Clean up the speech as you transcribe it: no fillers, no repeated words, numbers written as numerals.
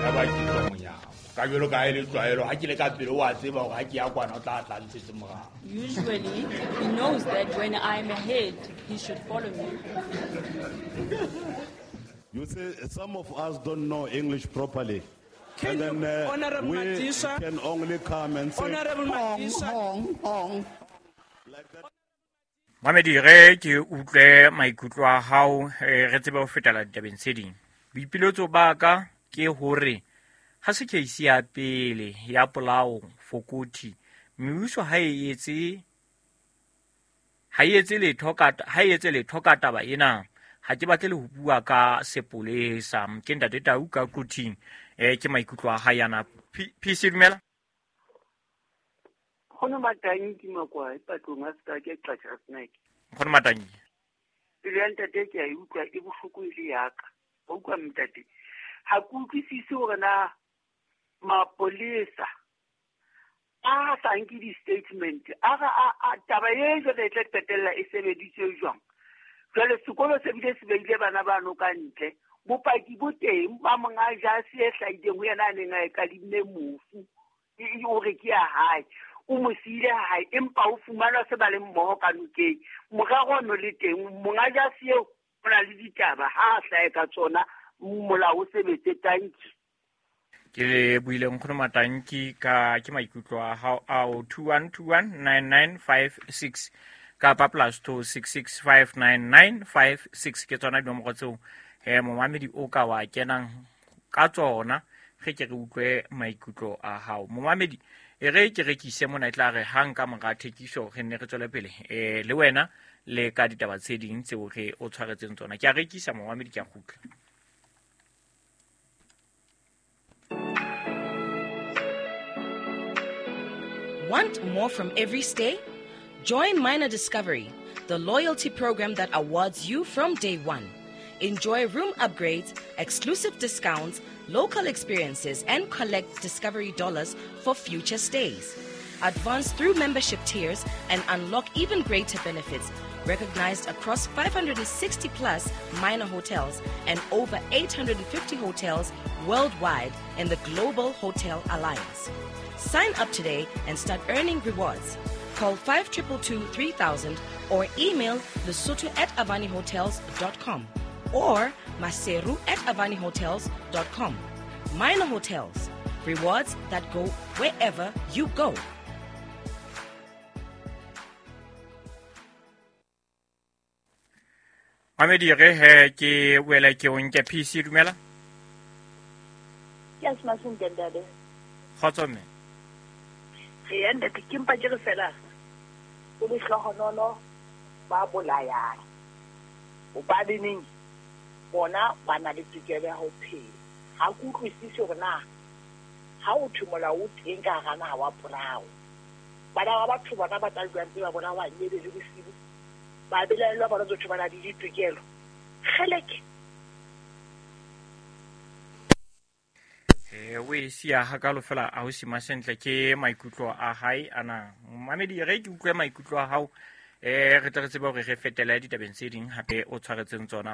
Ya ba ke tswa monyako. Ka jwalo ka ha e le tlwaelo, ha ke le ka pele o a tseba hore ha ke ya kwana o tla tla ntshetse morao. Usually, he knows that when I'm ahead, he should follow me. You see, some of us don't know English properly. Can And you, then Honorable we Madisa, can only come and say, Honorable hong, Madisa. hong, hong. Like that. Mamedi re ke utlwe maikutlo a hao re tsebe ho fetela ditabeng tse ding. Boipiletso ba ka ke hore ha se case ya pele ya polao Fokothi, mebuso ha e etse ha e etse letho ka ha e etse letho ka taba ena. Ha ke batle le ho bua ka sepolesa. Ke ntate Tau ka Quthing. Ke maikutlo a hae ana. PC dumela. Nkgono Matanki Makwai patlong a seka ke qatjha snack. Nkgono Matanki. Pelo ya ntate ke a e utlwa e bohloko e le yaka. Wa utlwa ntate. Ha ke utlwisise hore na mapolesa a sa nke di-statement a re a taba e jwale e tla qetella e sebeditswe jwang. Jwale sekolo se bile se beile bana bano ka ntle. Bopaki bo teng ba monga jase e hlahileng ho yena a neng a e kadimme mofu. O re ke ya hae. O mo siile hae empa o fumanwa se ba le mmoho ka nokeng. Morero ono le teng monga jase eo o na le ditaba ha a hlahe ka tsona molao o sebetse tanki. Ke le buile Nkgono Matanki ka ke maikutlo a hao ao 21219956 kapa plus 26659956 ke tsona dinomoro tseo momamedi o ka wa kenang ka tsona ge ke re utlwe maikutlo a hao. Momamedi e re ke rekise mona e tla re hang ka mora thekiso re nne re tswele pele le wena le ka ditaba tse ding tseo re o tshwaretseng tsona. Ke a rekisa momamedi, ke a kgutla. Want more from every stay? Join Minor Discovery, the loyalty program that awards you from day one. Enjoy room upgrades, exclusive discounts, local experiences, and collect Discovery dollars for future stays. Advance through membership tiers and unlock even greater benefits, recognized across 560 plus Minor hotels and over 850 hotels worldwide in the Global Hotel Alliance. Sign up today and start earning rewards. Call 5222-3000 or email lesotho@avanihotels.com or maseru@avanihotels.com. Minor Hotels, rewards that go wherever you go. Mamedi re he ke wela ke o nke PC dumela. Ke a smaseng ntate. Kgotso mme. Re ntate ke mpa ke re fela o le hlohonolo ba bolayang. Hobaneng bona ba na le tokelo ya ho phela. Ha ke utlwisise hore na ha o thwe molao o teng ka hara naha wa polao. Bana ba batho bona ba tla jwang tse ba bona ba nyele le bosibu. Ba belaellwa bona tse ba na le ditokelo. Kgeleke. O e siya hakalo fela a ho sima sentle ke maikutlo a hae ana. Mamedi re ke utlwe maikutlo a hao re tle re tsebe hore re fetele ditabeng tse ding hape o tshwaretseng tsona.